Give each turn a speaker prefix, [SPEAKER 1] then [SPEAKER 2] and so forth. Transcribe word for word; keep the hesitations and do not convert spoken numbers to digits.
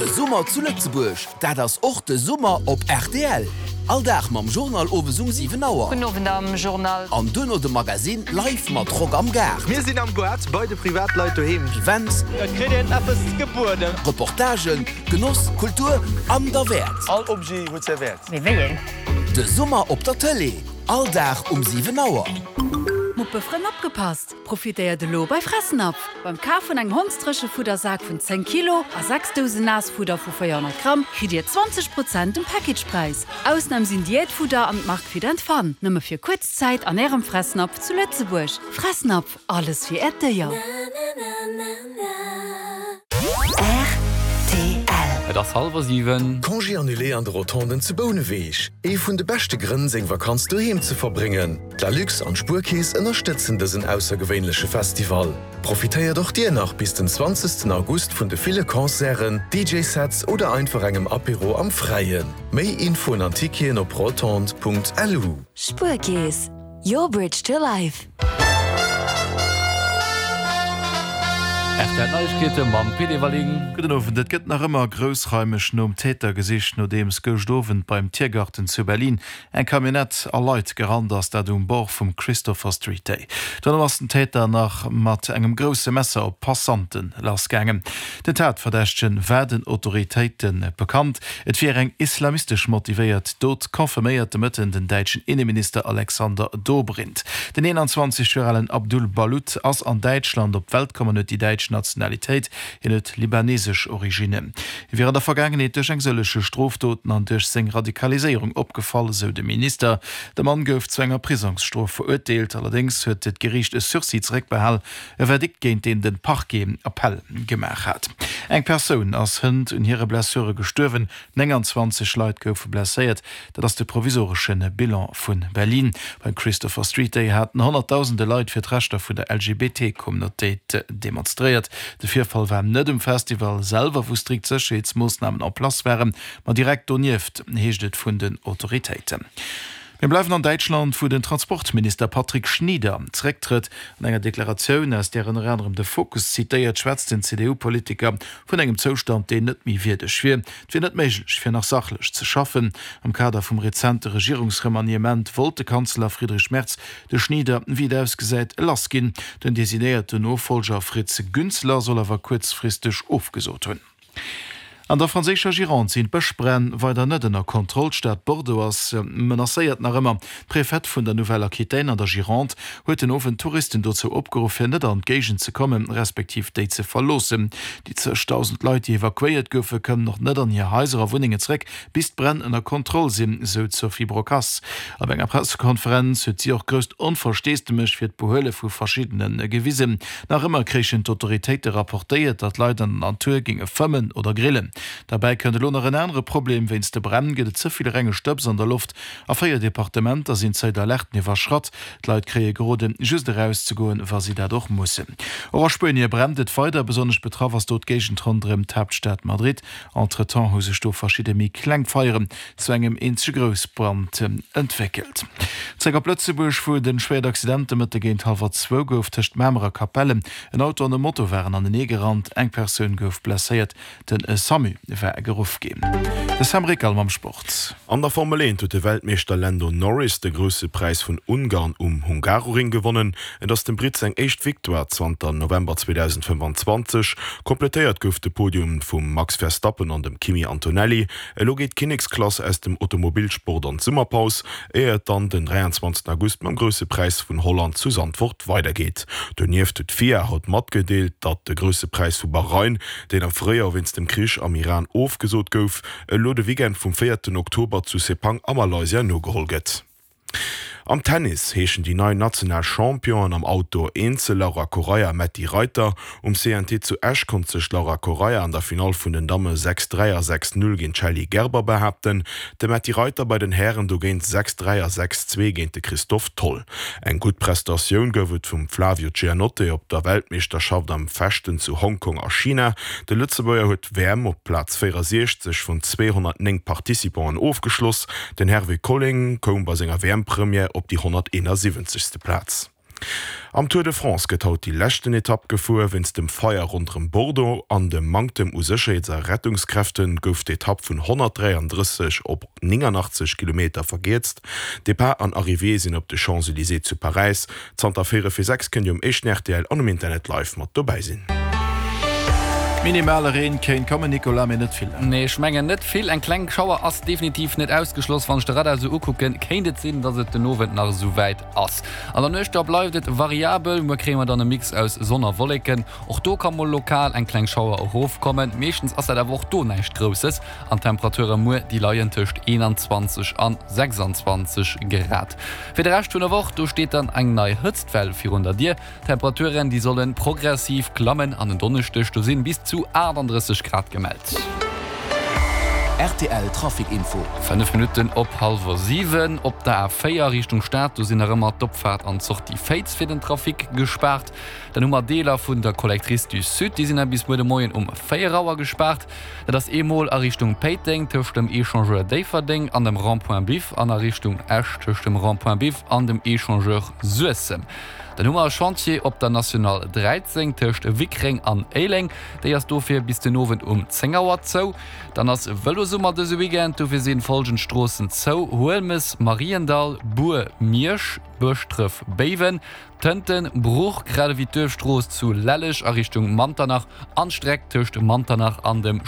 [SPEAKER 1] De Summer zu Lëtzebuerg, dat ass och de Summer op R T L. All Dag mam Journal owes um siwen Auer.
[SPEAKER 2] Gudden Owend am Journal.
[SPEAKER 1] An duerno de Magazine live mat Rock am Gaart.
[SPEAKER 3] Mir sinn am Gaart bei de Privatleit doheem.
[SPEAKER 1] Events,
[SPEAKER 3] Et kritt een eppes gebueden.
[SPEAKER 1] Reportagen, Genoss, Kultur an derwäert.
[SPEAKER 3] All Objet huet säi Wäert.
[SPEAKER 2] Mee wéi een?
[SPEAKER 1] De Summer op der Tëlee. All Dag um siwen Auer.
[SPEAKER 4] Muppefrënn, opgepasst! Profitéiert elo bei Fressnapf! Beim Kaf vun engem Hondsdréchefuddersak vun zéng Kilo a sechs Dousen Naassfudder vu véierhonnert Gramm kritt dir zwanzeg Prozent um Packagepräis. Ausnam sinn Diätfudder an d'Mark Fit and Fun. Nëmme fir kuerz Zäit an ärem Fressnapf zu Lëtzebuerg. Fressnapf, alles fir äert Déier.
[SPEAKER 5] R T L.
[SPEAKER 6] Et ass hallwer siwen.
[SPEAKER 7] Congé annulé an de Rotonden zu Bouneweg. Ee vun de beschte Grënn, seng Vakanz doheem ze verbréngen. D'Lalux an d'Spuerkeess ënnerstëtzen dësen aussergewéinleche Festival. Profitéiert och dir nach bis den zwanzegsten August vun de ville Concerten, D J-Sets oder einfach engem Apéro am Fräien. Méi Infoen an Ticketen op rotonde Punkt L U.
[SPEAKER 5] Spuerkeess. Your bridge to life.
[SPEAKER 6] R T L Neiegkeete mam Pit Everling.
[SPEAKER 8] Gudden Owend. Et gëtt nach ëmmer groussraimeg nom Täter gesicht, nodeems gëschter Owend beim Tiergarten zu Berlin eng Camionnette a Leit gerannt ass, dat um Bord vum Christopher Street Day. Dann ass den Täter nach mat engem grousse Messer op Passanten lassgaangen. Den Tatverdächtege war den Autoritéite bekannt. Et wier eng islamistesch motivéiert Dot, confirméiert de Mëtten den däitschen Inneminister Alexander Dobrindt. Den eenanzwanzeg Joer alen Abdul Balut ass an Däitschland op d'Welt komm an huet déi däitsch Nationalitéit, hien huet libanesesch Originnen. Hie wier an der Vergaangenheet duerch eng sëlleche Strofdoten an duerch seng Radikaliséierung opgefall, sou de Minister. De Mann gouf zu enger Prisongsstrof verurteelt, allerdéngs huet d'Geriicht e Sursis zeréckbehalen, e Verdikt, géint deen de Parquet Appell gemaach hat. Eng Persoun ass hënt un hire Blessure gestuerwen, nénganzwanzeg Leit goufe blesséiert, dat ass de provisoresche Bilan vu Berlin. Beim Christopher Street Day haten honnertdausende Leit fir d'Rechter vun der L G B T-Communautéit demonstréiert. De Virfall war net um Festival selwer, wou strikt Sécherheetsmoossnamen en place waren, ma direkt donieft, heescht et vun den Autoritéiten. Mir bleiwen an Däitschland, wou den Transportminister Patrick Schnieder zerécktrëtt. An enger Deklaratioun, aus där ënner anerem de Fokus zitéiert, schwätzt den C D U-Politiker vun engem Zoustand, deen net méi wierdeg wier. Et wier net méiglech, fir nach sachlech ze schaffen. Am Kader vum rezente Regierungsremaniement wollt de Kanzler Friedrich Merz de Schnieder, wéi et ausgesäit, lassginn. Den designéierten Nofollger Fritz Günzler soll awer kuerzfristeg ofgesot hunn. An der franséischer Gironde sinn d'Bëschbränn weider net ënner Kontroll. D'Stad Bordeaux ass menacéiert nach ëmmer. D'Präfett vun der Nouvelle-Aquitaine an der Gironde huet den Owend Touristen dozou opgeruff, fir net an d'Géigend ze kommen, respektiv déi ze verloossen. Déi zeg Dausend Leit, déi evakuéiert goufen, kënnen nach net an hir Haiser a Wunnengen zeréck, bis d'Bränn ënner Kontroll sinn, sou d'Sophie Brocas. Op enger Pressekonferenz huet si och grousst Onversteesdemech fir d'Behuele vu Verschiddene gewisen. Nach ëmmer kréichen d'Autoritéite rapportéiert, datt Leit an der Natur géinge fëmmen oder grillen. Dobäi kënnt elo nach en anere Problem: Wéinst de Bränn gëtt et ze vill renge Stëbs an der Loft. A véier Departementer sinn d'Alerten iwwerschratt. D'Leit kréie geroden, just erauszegoen, wa si dat och mussen. Och a Spuenie brennt et weider, besonnesch betraff ass do d'Géigend ronderëm d'Haaptstad Madrid. Entretemps hu sech do verschidde méi kleng Feieren zu engem eenzege Groussbrand entwéckelt. Zréck op Lëtzebuerg, wou et e schwéiert Accident de Mëtte géint hallwer zwou gouf tëscht Mamer a Capellen. En Auto an e Moto waren anenee gerannt, eng Persoun gouf blesséiert, de SAMU war geruff ginn. De Sam Rickal mam Sport.
[SPEAKER 9] An der Formel eent huet de Weltmeeschter Lando Norris de Grousse Präis vun Ungarn um Hungaroring gewonnen. Et ass dem Britt seng éischt Victoire zanter November zweedausendfënnefanzwanzeg. Komplettéiert gouf de Podium vum Max Verstappen an dem Kimi Antonelli. Elo geet d'Kinneksklass aus dem Automobilsport an d'Summerpaus, éier et dann den dräianzwanzegsten August mam Grousse Präis vun Holland zu Zandvoort weidergeet. Donieft huet d'FIA haut matgedeelt, datt de Grousse Präis vu Bahrain, deen am Fréijoer wéinst dem Krich am Iran ofgesot gouf, elo de Weekend vum véierten Oktober zu Sepang a Malaysia nogeholl gëtt. Am Tennis heeschen déi nei national Championen am Outdoor Eenzel Laura Correia a Metti Reiter. Um C N T zu Esch konnt sech Laura Correia an der Finall vun den Damme sechs dräi a sechs null géint Shelly Gerber behaapten. De Metti Reiter bei den Hären dogéint sechs dräi a sechs zwee géint de Christoph Toll. Eng gutt Prestatioun gouf et vum Flavio Giannotte op der Weltmeeschterschaft am Fechten zu Hongkong a China. De Lëtzebuerger huet d'W M op Plaz véierundsechzeg vun zweehonnertnéng Participanten ofgeschloss. Den Hervé Colling koum bei senger W M-Première op déi honnerteenasiwwenzegste. Plaz. Am Tour de France gëtt haut déi leschten Etapp gefuer. Wéinst dem Feier ronderëm Bordeaux an dem Manktem u Sécherheets a Rettungskräfte gouf d'Etapp vun honnertdräiandrësseg op nénganachtzeeg Kilometer verkierzt. Depart an Arrivée sinn op de Champs-Élysées zu Paräis. Zanter véierel vir sechs kënnt Dir um éischten rtl an um Internet live mat dobäi sinn.
[SPEAKER 8] Minimale Reen kéint kommen, Nicolas, mee net vill.
[SPEAKER 6] Nee, ech mengen net vill. Eng kleng Schauer ass definitiv net ausgeschloss. Wann ech de Radar esou ukucken, kéint et sinn, dass et den Owend nach esou wäit ass. An der Nuecht da bleift et variabel. Muer kréie mer dann e Mix aus Sonn a Wolleken. Och do ka mol lokal eng kleng Schauer erofkommen. Meeschtens ass dat awer och do näischt Grousses. An d'Temperature muer, déi leien tëscht eenanzwanzeg an sechsanzwanzeg Grad. Fir de Rescht vun der Woch, do steet dann eng nei Hëtztwell virun der Dier. D'Temperaturen, déi solle progressiv klammen an en Donneschdeg, do sinn bis zu achtandrësseg Grad gemellt.
[SPEAKER 1] Rtl Trafic Info.
[SPEAKER 6] Fënnef Minutten op hallwer siwen op der A véier Richtung Stad, do sinn nach ëmmer d'Opfaart an d'Sortie Féiz fir den Trafic gespaart. Dann hu mer Deeler vun der Collectrice du Sud, déi sinn nach bis muer de Moien um véier Auer gespaart. Dat ass eemol a Richtung Péiteng tëscht dem Echangeur Déifferdeng an dem Rond-point Biff an a Richtung Esch tëscht dem Rond-point Biff an dem Echangeur Suessem. Dann hu mer e Chantier op der National dräizéng tëscht Wickreng an Éileng. Déi ass dofir bis den Owend um zéng Auer zou. Dann ass Vëlosummer dëse Weekend, dofir sinn folgend Stroossen zou, Huelmes, Mariendall, Bur, Miersch, Bëschdref, Béiwen, Tënten, Bruch, grad ewéi d'Duerfstrooss zu Lelleg a Richtung Manternach an d'Streck tëscht Manternach an dem.